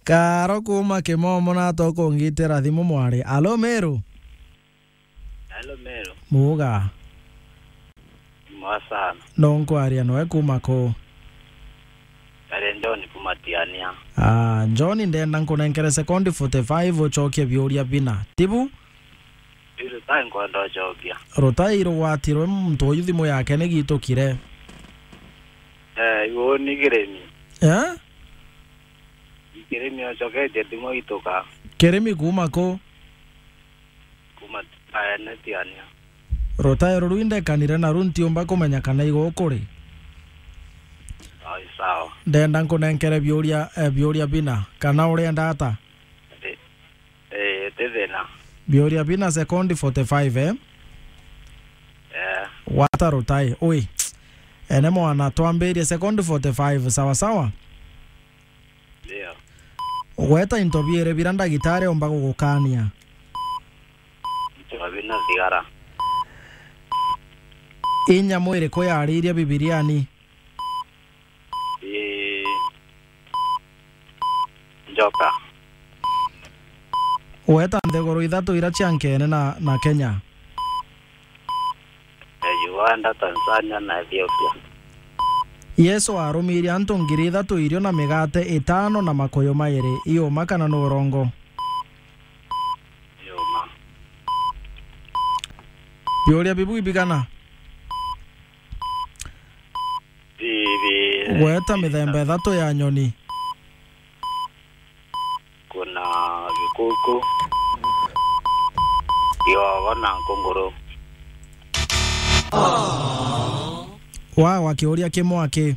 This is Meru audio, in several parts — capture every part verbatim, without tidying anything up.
Karo kuma Kimomo na tokongitira thimu mwari. Alo Meru. Hello, Meru. Muga. Mwa sana. No nkwaria noe kuma ku? Kare John kuma Tiania. Ah, John, ndenda nkunenkere sekondi forty-five ucokie biuria bina. Tibu? Biru tai nkwenda ucokia. Rutai rugwatirwe muntu uyu thimu yake nigitukire. Eh, iu ni kirimi. Eh? Ikirimi ocoketie thimu ituka. Kirimi kuma ku? Kuma Tiania. Rutairo ruu indekanire naru ntiumba kumenya kana igo ukuri. Ai, sawa. Ndenda nkunenkere biuria, eh, biuria bina, kana urenda ata? Eh, eh, ti thina. Biuria bina sekondi forty-five, eh? Eh. Wata rutai. Ui. Ene mwana, twambirie sekondi forty-five, sawa sawa? Ndio. Gweta into biiri bira ndagitari omba gugukania. Into bina thigara. Inya mwiri kuyariria Bibiriani? Ii. Njoka. Gweta nthiguru ithatu ira cia nkene na, na Kenya. Eh, Uganda, Tanzania na Ethiopia. Yesu aarumirie antu ngiri ithatu irio na migate itano na makuyu mairi. Iuma kana ni urongo? Iuma. Biuria bibu ibigana? Bibi. Gweta mithemba ithatu ya nyoni. Kuna gikuku, kiogo na nkunguru. Wa, wa kiuria kimwe aki.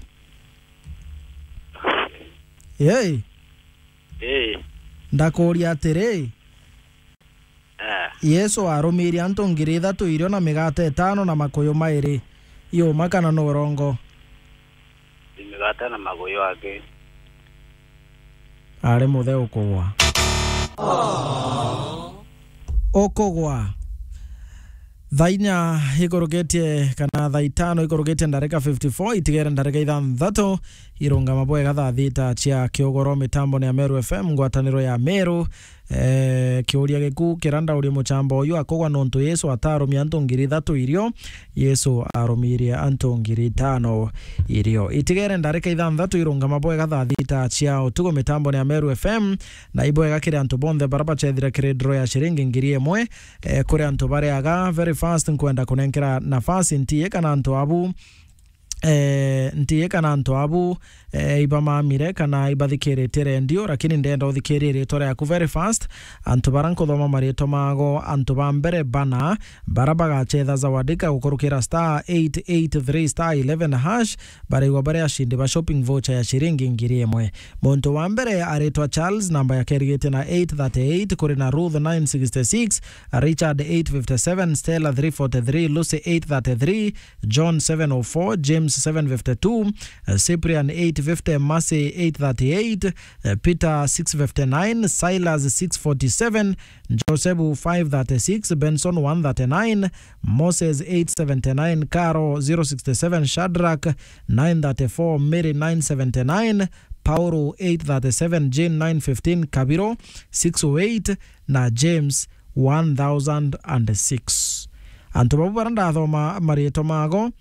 Yei. Ii. Ndakuria atiri, Eh. Yesu aarumirie antu ngiri ithatu irio na migate itano na makuyu mairi. Iuma kana ni urongo? Ni migate na makuyu aki. Ari muthe ukugwa. Ukugwa. Thaa inya ikurukitie kana thaa itano ikurukitie ndarika fifty-four, itigere ndarika ithanthatu irungama bwega thaa thita cia kiugoro. Mitambo ni ya Meru F M, ngwataniro ya Meru. Eh, kiuria giku kira ndauria mucamba uyu akugwa nontu Yesu ataarumia antu ngiri ithatu irio, Yesu aarumirie antu ngiri itano irio. Itigere ndarika ithanthatu irungama bwega thaa thita cia utuku. Mitambo ni ya Meru F M, na ibwega kiri antu bonthe bara bachethire kiri draw ya ciringi ngiri imwe. Eh, kuri antu bariaga, very fast nkwenda kunenkera nafasi ntiye kana antu abu eh, ntiye kana antu abu, eh, ibamamire kana ibathikiritie rendio, lakini ndenda uthikirie ritwa riaku very fast. Antu bara nkuthoma maritwa mago, antu ba mbere bana, bara bagachetha Zawadika gukurukira star eight eight three star eleven hash, baraigwa bari ashindi ba shopping voucher ya ciringi ngiri imwe. Muntu wa mbere aritwa Charles, namba yake irigitie na eight thirty-eight, kuri na Ruth nine sixty-six, Richard eight fifty-seven, Stella three forty-three, Lucy eight thirty-three, John seven oh four, James seven fifty-two, eh, Cyprian eight fifty, Mercy eight thirty-eight, eh, Peter six fifty-nine, Silas six forty-seven, Josebu five thirty-six, Benson one thirty-nine, Moses eight seventy-nine, Caro zero sixty-seven, Shadrach nine thirty-four, Mary nine seventy-nine, Paulo eight thirty-seven, Jane nine fifteen, Kabiro six oh eight, na James one thousand and six. Antu babu bara ndathoma maritwa mago,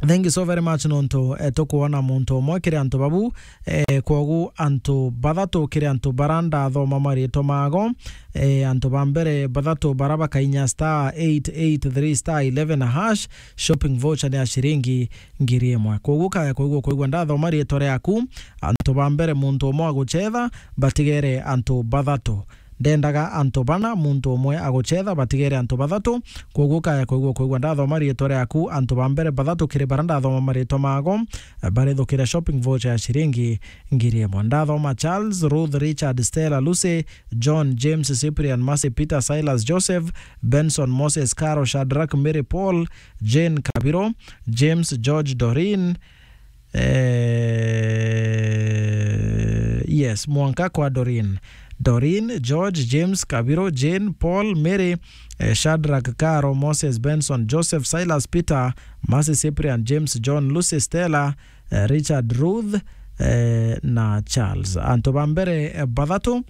thank you so very much nontu, eh, tukwona muntu umwe kiri antu babu, eh, kwogu antu bathatu kiri antu bara ndathoma maritwa mago, eh, antu ba mbere bathatu bara bakainya star eight eight three star eleven hash, shopping voucher ni ya ciringi ngiri imwe. Kwogu kaya kwigua kwigua ndathoma ritwa riaku, antu ba mbere muntu umwe aguchetha, batigere antu bathatu. Ndendaga antu bana, muntu umwe aguchetha, batigere antu bathatu. Kwoguo kaya kwigua kwigua ndathoma riitwa riaku, antu ba mbere bathatu kiri bara ndathoma maritwa mago, barithukire shopping voucher ya ciringi ngiri imwe. Ndathoma Charles, Ruth, Richard, Stella, Lucy, John, James, Cyprian, Mercy, Peter, Silas, Joseph, Benson, Moses, Caro, Shadrach, Mary, Paul, Jane, Kabiro, James, George, Doreen, eh, yes, mwanka kwa Doreen. Doreen, George, James, Kabiro, Jane, Paul, Mary, eh, Shadrach, Caro, Moses, Benson, Joseph, Silas, Peter, Mercy, Cyprian, James, John, Lucy, Stella, eh, Richard, Ruth, eh, na Charles. Antu ba mbere, eh, bathatu,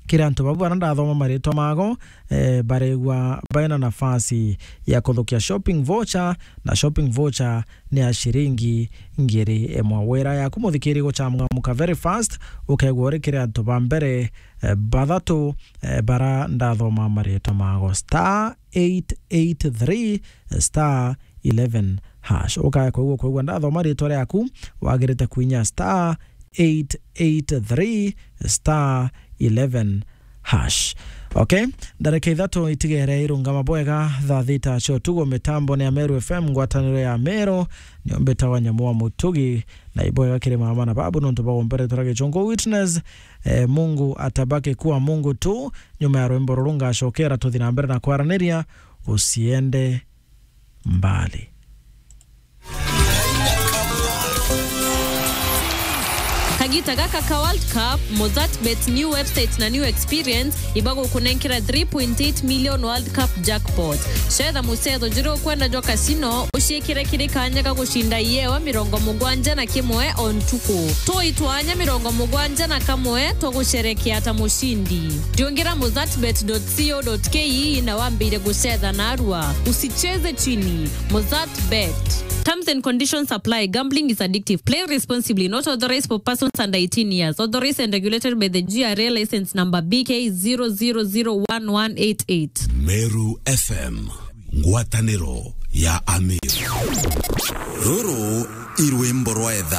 kiri antu bau bara ndathoma maritwa mago, eh, baregwa baina nafasi ya kuthukia shopping voucher, na shopping voucher ni ya ciringi ngiri imwe. Wira yaku muthikiri guchamgamuka very fast, ukegwa uri kiri antu ba mbere, eh, bathatu, eh, bara ndathoma maritwa mago. Star eight eight three star eleven hash. Ukaya kwigua, kwigua ndathoma ritwa riaku, wagirite kwinya star eight eight three star eleven hash. Okay, ndareka ithatu itigere irungama bwega, thaa thita cia utugo, mitambo ni ya Meru F M, ngwataniro ya Meru, nio mbitawa Nyamu wa Mutugi, na ibwega kiri mama na babu nontu bwa gumperetera gichungu witness. Eh, Mungu atabaki kuwa Mungu tu. Nyuma ya rwimbo ruru ngacokera tuthi na mbere na kwaraniria, usiende mbali. Kagita gaka ka World Cup, Mozart Bet new website na new experience ibagukunenkera three point eight million World Cup jackpot. Cetha mucetho juria ukwenda jwa casino, uciikire kiri kanya ga gucinda iewa mirongo mugwanja na kimwe o ntuku. Tui twanya mirongo mugwanja na kamwe twa gucerekea ta mucindi. Riungira mozartbet dot co dot ke na wambire gucetha narua. Usicheze chini. Mozart Bet. Terms and conditions apply. Gambling is addictive. Play responsibly. Not authorized for persons under eighteen years. Authorized and regulated by the G R A license number B K zero zero zero one one eight eight. Meru F M, ngwataniro ya Amir. Ruru i rwimbo rwa etha.